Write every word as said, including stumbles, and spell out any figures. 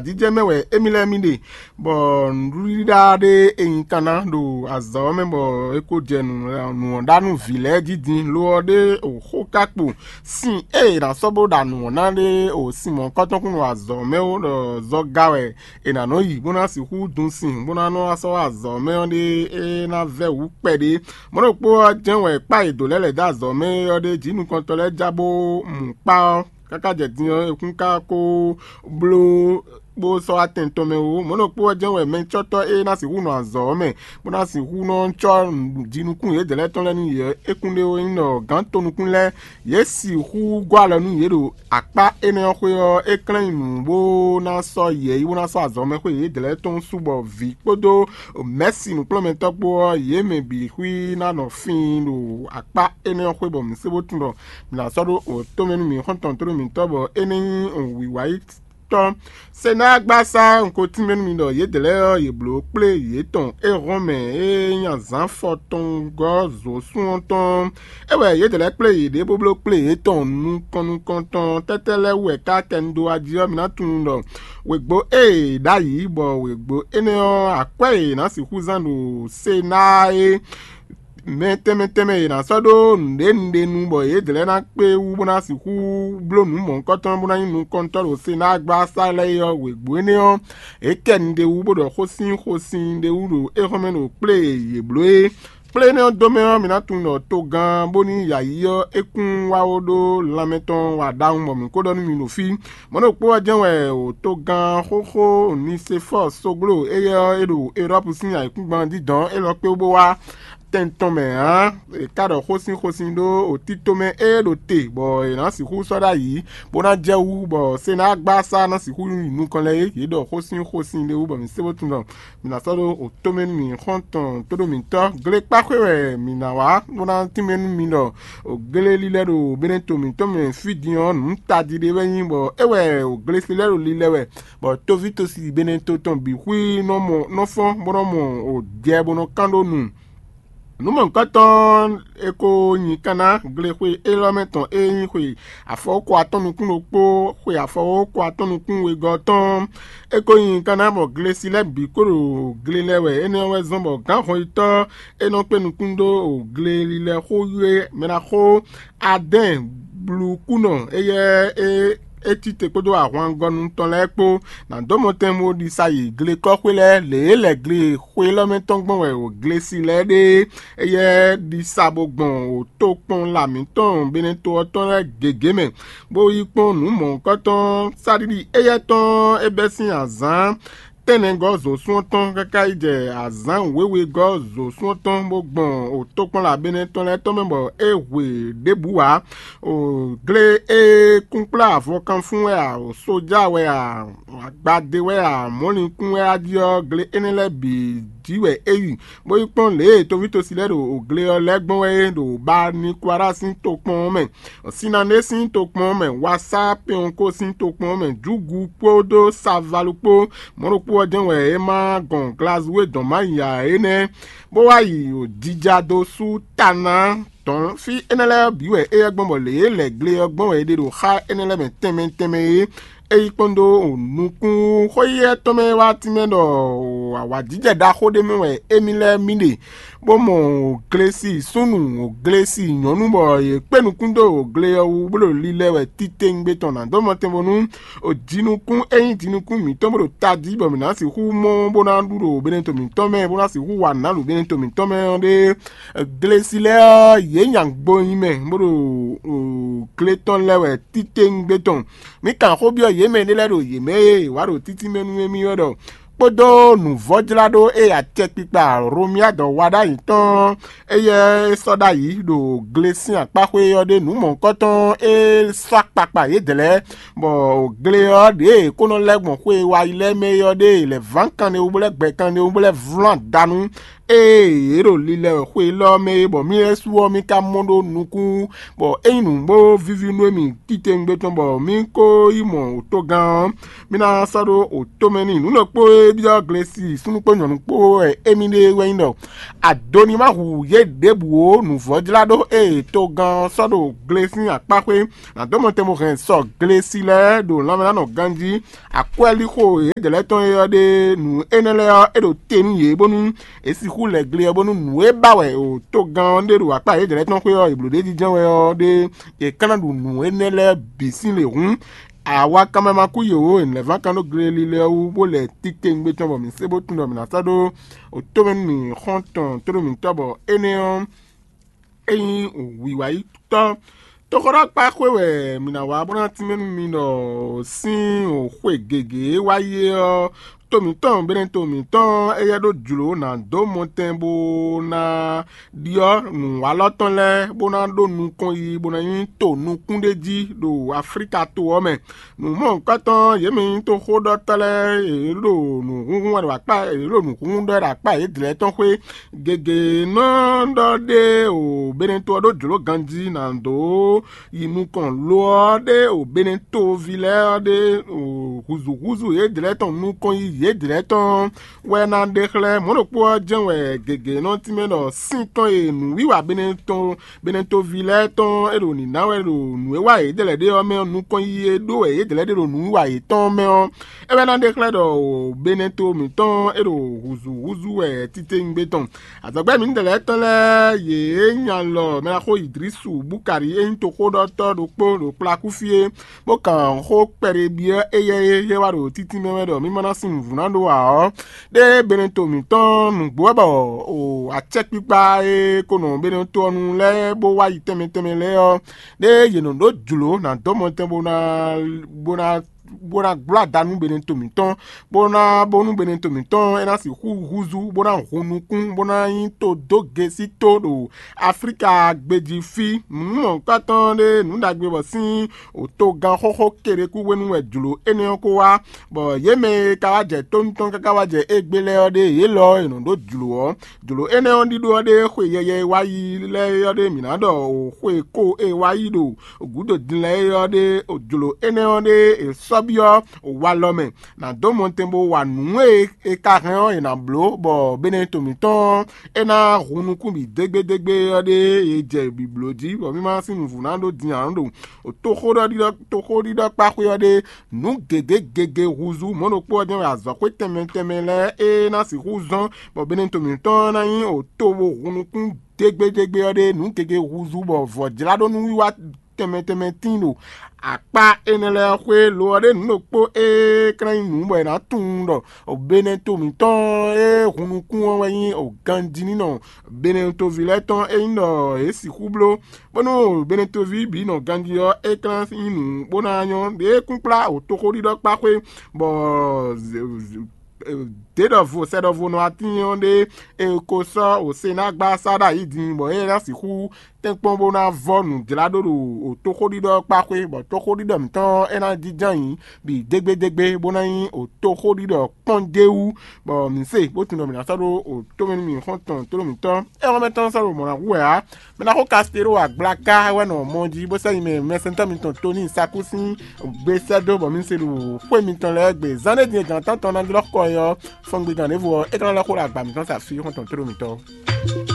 jijɛ mɛ wɛ émí lɛ́ɛ mì ɖe, bɔ nǔɖuɖíɖá ɖé e nyí kanna ɖo azɔ̌ ɔ́ mɛ, bɔ é ko jɛ nǔ ɔ́ ɖa nú vǐ lɛ́ɛ jí din. Lo ɔ́ ɖé xó ka kpo sin e è nǎ sɔ́ bó ɖa nǔ ɔ́ ná ɖé o sin mɔ̌hunkɔtɔn kún ɖo azɔ̌ mɛ ó, ɖɔ zɔga wɛ è nǎ nɔ yi bó ná sixú dun sin bó ná nɔ wá sɔ́ wá azɔ̌ mɛ ɔ́ ɖé é ná vɛ́ wǔ kpɛɖé. Mɔ̌ ɖokpó ɔ́ jɛ́n wɛ kpá e dǒ lɛ́ lɛ̌ dó azɔ̌ mɛ ɔ́ ɖé jí nukɔntɔ́ lɛ́ɛ já bó mu kpá ɔ́, káká jɛ din ɔ́, é kún ka ko bló bó sɔ́ wá tɛn tɔn mɛ ó. Mɔ̌ ɖokpó ɔ́ jɛ́n wɛ mɛcɔ́tɔ́ e ná sixú nɔ azɔ̌ ɔ́ mɛ, bó ná sixú nɔ cɔ́ jinukún yědɛɛ lɛ́ɛ tɔn lɛ́ɛ nú yě ɔ́, é kún ɖé ó nyí ɖɔ gǎn tonukún lɛ́ɛ, yě sixú gɔ́ alɔ nú yě ɖo akpá énɛ́ ɔ́ xwé ɔ́, é klɛ́n nyi nǔ bó ná sɔ́ yɛ̌yi bó ná sɔ́ azɔ̌ mɛ xwé yědɛɛ lɛ́ɛ tɔn su bɔ vǐ kpódó mɛ̌si nǔkplɔ́nmɛtɔ́ kpó ɔ́, yě mɛ bǐ xwí ná nɔ fin ɖo akpá énɛ́ ɔ́ xwé bɔ mǐ sé bó tunwun ɖɔ mǐ ná sɔ́ ɖó wǒtomɛ nú mǐ xɔ́ntɔn tónú mǐtɔn bɔ é ní nyí wǐwá yi tɔn. Senágbasá un ko tínmɛ nú mi ɖɔ yědɛɛ lɛ́ɛ ɔ́, yě bló kplé yětɔn é hɔn mɛ e nyí azǎn fɔtɔngɔ́ zǒsún ɔ́ tɔn. É wɛ yědɛɛ lɛ́ɛ kplé yěɖée bó bló kplé yětɔn nukɔn nukɔntɔn tɛ́tɛ́ lɛ́ɛ wú wɛ ká kɛ un dó wá jí ɔ́, mi ná tunwun ɖɔ wěgbó e è ɖ'ayǐ bɔ wěgbó énɛ́ ɔ́, akwɛ́ e è nǎ sixú zán ɖo Senáa é mɛ tɛnmɛ tɛnmɛ e è nǎ sɔ́ ɖó nǔɖénúɖénu bɔ yědɛɛ lɛ́ɛ ná kpé wú bó ná sixú bló nǔ mɔ̌hunkɔtɔn bó ná nyí nukɔntɔ́ ɖo Senáa gbasá lɛ́ɛ é ɔ́, wěgbó énɛ́ ɔ́, é kɛ un ɖ'é wú bó ɖɔ xósin xósin ɖ'é wú ɖo éhɔ́nmɛ ɖo kplé e yě bló é. Kplé énɛ́ ɔ́ dó mɛ ɔ́, mi ná tunwun ɖɔ togán bónú yǎyí ɔ́ é kún wá ó ɖó lanmɛ tɔn wa ɖawun bɔ mǐ ko ɖɔ nú mi ɖo fí. Mɔ̌ ɖokpó ɔ́ jɛ́n wɛ togán xóxó Nisefɔ́ɔ sógló éyɛ́ ɔ́ é ɖo Elɔ́pu sín ayǐkúngban ɔ́ dídɔ̌n élɔ́ kpé bó wá tɛn tɔn mɛ ǎ. È ka ɖɔ xósin xósin ɖó tito mɛ e ɖo te bɔ è nǎ sixú sɔ́ ɖ'ayǐ bó ná jɛ wú bɔ Senágbasá ná sixú yi nukɔn lɛ́ɛ é. Yě ɖɔ xósin xósin ɖé wú bɔ mǐ sé bó tunwun ɖɔ mǐ ná sɔ́ ɖó tomɛ nú mǐ xɔ́ntɔn tóɖó mǐtɔn. Glekpáxwé wɛ mǐ ná wá bó ná tínmɛ nú mi ɖɔ glélilɛ ɖo Beneto mǐtɔn mɛ fí din ɔ́, nǔ tají ɖé wɛ nyí bɔ é wɛ glesi lɛ́ɛ ɖo lilɛ wɛ, bɔ tóví tosi Beneto tɔn bǐ xwí nɔ mɔ nɔ fɔ́n bó nɔ mɔ jɛ bó nɔ kán ɖó nu. Nǔ mɔ̌hunkɔtɔn e ko nyi kanna glexwe élɔ́ mɛ tɔn e nyí xwe afɔwókɔ atɔ́ nukún ɖokpó, xwe afɔwókɔ atɔ́ nukún wegɔ́ tɔn. É ko nyi kanna bɔ glesi lɛ́ɛ bǐ kó ɖo gle lɛ wɛ. Énɛ́ ɔ́ wɛ zɔ́n bɔ gǎnhɔnyitɔ́ e nɔ kpé nukún dó glelilɛ xó yú é mɛ ná xó Adɛ́ɛn blukúnɔ éyɛ́ é é tite kpódó ahwangɔnu tɔn lɛ́ɛ kpó ná dó mɔtɛn bó ɖisa yi glekɔ́xwé lɛ́ɛ. Lě e lɛ̌ gle xwe élɔ́ mɛ tɔn gbɔn wɛ o glesi lɛ́ɛ ɖe é, éyɛ́ ɖisa bó gbɔn o tokpɔn lamǐtɔn Beneto ɔ́ tɔn lɛ́ɛ gěgé mɛ, bó yi kpɔ́n nǔ mɔ̌hunkɔtɔn sáɖiɖi éyɛ́ tɔn é bɛ́ sín azǎn tɛ́nnɛgɔ́ zǒsún ɔ́ tɔn káká yi jɛ azǎn wěwegɔ́ zǒsún ɔ́ tɔn bó gbɔn o tokpɔnla Benɛ́ tɔn lɛ́ɛ tɔn mɛ bɔ é hwe ɖěbǔ ǎ. O gle e kúnkplá avɔkanfún wɛ a, o sójá wɛ a, agbadé wɛ a, mɔ̌linkún wɛ a jí ɔ́, gle énɛ́ lɛ́ɛ bǐ jí wɛ é yi, bó yi kpɔ́n lě e toví tosi lɛ́ɛ ɖo o gle ɔ́ lɛ́ɛ gbɔn wɛ é ɖo Banikwara sín tokpɔn ɔ́ mɛ. Sinanée sín tokpɔn ɔ́ mɛ, Wasá Pɛɔnko sín tokpɔn ɔ́ mɛ, Júgu kpódó Savalu kpó. Mɔ̌ ɖokpó ɔ́ jɛ́n wɛ é ma gɔn Glazúwe dɔn má yi ǎ é nɛ́, bó wá yi jija dó sú ta ná dɔn fí énɛ́ lɛ́ɛ bǐ wɛ éyɛ́ gbɔn bɔ lě e lɛ̌ gle ɔ́ gbɔn wɛ è ɖe ɖo xá énɛ́ lɛ́ɛ mɛ tɛnmɛ tɛnmɛ é. É yi kpɔ́n dó nukún xóyíyɛ́ tɔn mɛ wá tínmɛ ɖɔ awǎjijɛ ɖaxó ɖé mɛ wɛ émí lɛ́ɛ mì ɖe, bó mɔ glesi súnnu, glesi nyɔ̌nu bɔ yě kpé nukún dó gle ɔ́ wú bó ɖo lilɛ wɛ titewungbe tɔn ná dó mɔtɛn bónú jinukún e nyí jinukún mǐtɔn bó ɖo tají bɔ mǐ ná sixú mɔ bó ná ɖu ɖo beneto mǐtɔn mɛ bó ná sixú wa nǔ ná ɖo beneto mǐtɔn mɛ ɔ́ ɖe. Glesi lɛ́ɛ ɔ́, yě nya gbo nyi mɛ bó ɖo gle tɔn lɛ́ wɛ titewungbe tɔn. Mǐ kan xó byɔ́ yě mɛ ɖé lɛ́ɛ ɖo yě mɛ e wǎ ɖo títí mɛ nú émí wɛ ɖɔ kpódó nǔvɔ́jláɖó e acɛkpikpa Romia dɔ wa ɖ'ayǐ tɔn éyɛ́ é sɔ́ ɖ'ayǐ ɖo gle sín akpáxwé ɔ́ ɖe nǔ mɔ̌hunkɔtɔn e sɔ́ akpakpa yědɛɛ lɛ́ɛ, bɔ gle ɔ́ ɖě e kó nɔ lɛ́ gbɔn xwe e wa yi lɛ́ɛ mɛ é ɔ́ ɖe lɛ̌ ván kanɖéwú bó lɛ́ gbɛ kanɖéwú bó lɛ́ vlɔ́n adanu Ée é ɖo lilɛ wɛ xwe élɔ́ mɛ é, bɔ mì lɛ́ɛ su ɔ́, mì ka mɔ ɖó nukún, bɔ é nyí nǔ bó víví nú émí titewungbe tɔn, bɔ mì ko yi mɔ wǒtogán ɔ́, mì ná sɔ́ ɖó wǒtomɛ n'i. Nǔ ɖokpó e byɔ́ glesi súnnu kpó nyɔ̌nu kpó wɛ émí ɖe wɛ nyí ɖɔ Adoni ma hu yě ɖěbǔ ó. Nǔvɔ́jláɖó e togán ɔ́ sɔ́ ɖo gle sín akpá xwé, nǎ dó mɔ tɛn bo hɛn sɔ glesi lɛ́ɛ ɖo lanmɛ ná nɔ ganjí. Akwɛ́líxo yědɛɛ lɛ́ɛ tɔn e ɔ́ ɖe nǔ énɛ́ lɛ́ɛ ɔ́, é ɖo te nú yě bónú è sixú lɛ gle ɔ́, bónú nǔ e ba wɛ togán ɔ́ ɖe ɖo akpá yědɛɛ lɛ́ɛ tɔn xwé ɔ́, è blǒ ɖ'é jínjɔ́n wɛ ɔ́ ɖe, è ka ná ɖu nǔ énɛ́ lɛ́ɛ bǐ sín lě hǔn. Awa kanmɛ ma kú yě ó, è nɛ̌ ván kan ɖó gle lílɛ́ ɔ́ wú, bó lɛ titewungbe tɔn bɔ mǐ sé bó tunwun ɖɔ mǐ ná sɔ́ ɖó wǒtomɛ nú mǐ xɔ́ntɔn tónú mǐtɔn, bɔ énɛ́ ɔ́, é nyí wǐwáyítɔ́. Toxóɖɔkpá xwé wɛ mǐ ná wá bó ná tínmɛ nú mi ɖɔ sín xwe gěgé e wá yi é ɔ́, to mǐtɔn Beneto mǐtɔn éyɛ́ ɖó jlǒ ná dó mɔtɛn bó ná ɖyɔ́ nǔwalɔ tɔn lɛ́ɛ bó ná ɖó nukɔn yiyi bó ná nyí to nukún ɖé jí ɖo Aflíka to ɔ́ mɛ. Nǔmɔ̌hunkɔtɔn yě mɛ nyí toxóɖɔtɔ́ lɛ́ɛ, yě ɖo nǔhúnhún wɛ ɖo akpá yě ɖo nǔhúnhún ɖɔ wɛ ɖo akpá yědɛɛ tɔn xwé. Gěgé nɔ ɖɔ ɖé o Beneto ɔ́ ɖó jlǒ ganjí ná dó yi nukɔn lo ɔ́ ɖé o Beneto ví lɛ́ɛ ɔ́ ɖé o húzúhúzú yědɛɛ tɔn nukɔn yi yědɛɛ tɔn wɛ ná ɖe xlɛ́. Mɔ̌ ɖokpó ɔ́ jɛ́n wɛ gěgé nɔ tínmɛ ɖɔ sín tɔn e nǔwiwa Beneto Beneto ví lɛ́ɛ tɔn é ɖo nǐ ná wɛ ɖo nǔ e wa yědɛɛ lɛ́ɛ ɖe ɔ́ mɛ ɔ́, nukɔn yiyi e ɖó wɛ yědɛɛ lɛ́ɛ ɖe ɖo nǔwiwa yětɔn mɛ ɔ́, é wɛ ná ɖe xlɛ́ ɖɔ Beneto mǐtɔn é ɖo húzúhúzú wɛ titewungbe tɔn. Azɔ̌gbɛ́ mǐdɛɛ lɛ́ɛ tɔn lɛ́ɛ yě nya lɔ mɛɖaxó Idrisu Bukari e nyí toxóɖɔtɔ́ ɖokpó ɖo kplakú fí é, bó kan xó kpɛɖé byɔ́ éyɛ́ e yɛ wá ɖo títí mɛ wɛ ɖɔ mì ma ná sin nǔvú ná ɖó ǎ ɔ́, ɖé Beneto mǐtɔn nǔgbó wɛ bɔ o acɛkpikpa e ko nɔ Beneto ɔ́ nu lɛ́ɛ bó wá yi tɛnmɛ tɛnmɛ lɛ́ɛ ɔ́, ɖé yě nɔ ɖó jlǒ ná dó mɔtɛn bó ná bó ná bó ná gbló ada nú Beneto mǐtɔn, bó ná bónú Beneto mǐtɔn é ná sixú húzú, bó ná hun nukún, bó ná nyí todógesító ɖo Aflíka gbejí fí. Nǔ mɔ̌hunkɔtɔn ɖé nǔ ɖagbe bɔ sín òtogán xóxó keɖé kú hwenu wɛ jlǒ énɛ́ ɔ́ ko wá, bɔ yě mɛ e ka wá jɛ tónú tɔn káká wá jɛ égbé lɛ́ɛ ɔ́ ɖé yě lɔ e nɔ ɖó jlǒ ɔ́. Jlǒ énɛ́ ɔ́ ɖíɖó ɔ́ ɖé xwe yɛyɛ e wá yi lɛ́ɛ ɔ́ ɖé mǐ ná ɖɔ o xwe ko e wá yi ɖo gǔdo din lɛ́ɛ ɔ́ ɖé, jlǒ énɛ́ ɔ́ ɖé è sɔ́ byɔ́ walɔ mɛ, nǎ dó mɔtɛn bó wa nǔ e è ka hɛn ɔ́ è nǎ bló, bɔ Beneto mǐtɔn ɔ́, é ná hun nukún bǐ dégbédégbé ɔ́ ɖé è jɛ bǐbló jí, bɔ mì ma sín nǔvú ná ɖó din ǎ ɖo toxóɖiɖɔ toxóɖiɖɔ kpáxwé ɔ́ ɖé. Nǔ gěgé gege húzú mɔ̌ ɖokpó ɔ́ jɛ́n wɛ azɔ̌xwé tɛnmɛ tɛnmɛ lɛ́ɛ é ná sixú zɔ́n, bɔ Beneto mǐtɔn ɔ́ ná nyí òto bó hun nukún dégbédégbé ɔ́ ɖé. Nǔ gěgé húzú bɔ vɔ̌jláɖónúwiwa tɛnmɛ tɛnmɛ tíin ɖo akpá énɛ́ lɛ́ɛ xwé. Lo ɔ́ ɖé nǔ ɖokpó e ka ná nyí nǔ bɔ è nǎ tunwun ɖɔ Beneto mǐtɔn e hun nukún ɔ́ wɛ nyí ganjínínɔ Beneto ví lɛ́ɛ tɔn e nyí ɖɔ yě sixú bló, bónú Beneto ví bǐ nɔ ganjí ɔ́, é ka ná nyí nǔ bó ná nyɔ́. Ɖěe kúnkplá wǒtoxóɖiɖɔ kpá xwé, bɔ dě ɖɔvo sɛ ɖɔvo nɔ atín ɔ́ ɖé e ko sɔ́ wǒsénágbá sá ɖo ayǐ din, bɔ é ná sixú tɛ́nkpɔ́n bó ná vɔ́ nǔjláɖó ɖo wǒtoxóɖiɖɔ kpá xwé, bɔ tóxóɖiɖɔ mǐtɔn ɔ́, é ná jínjɔ́n ayǐ bǐ dégbédégbé, bó ná nyí wǒtoxóɖiɖɔ kpɔ́n d'é wú, bɔ mǐ se bó tunwun ɖɔ mǐ ná sɔ́ ɖó wǒtomɛ nú mì xɔ́ntɔn tlóló mǐtɔn. É hɔn mɛ tɔn sɔ́ ɖo mɔ̌ ná hu wɛ ǎ. Mɛ ná xo Kastero agblaka wɛ nɔ mɔ jí bó sɛ́ nyi mɛ mɛsɛntɔ́ mitɔn Toni Saku sín gbe sɛ́ dó bɔ mi se ɖo xwé mitɔn lɛ́ɛ gbe. Zán ɖé din e gǎn tántɔn ná jlɔ́ kɔ ɛ ɔ́, fɔngbe gǎn ɖěvo ɔ́, é ka ná lɛ́ xo ɖo agba mǐtɔn sa fí xɔ́ntɔn tlóló mǐtɔn.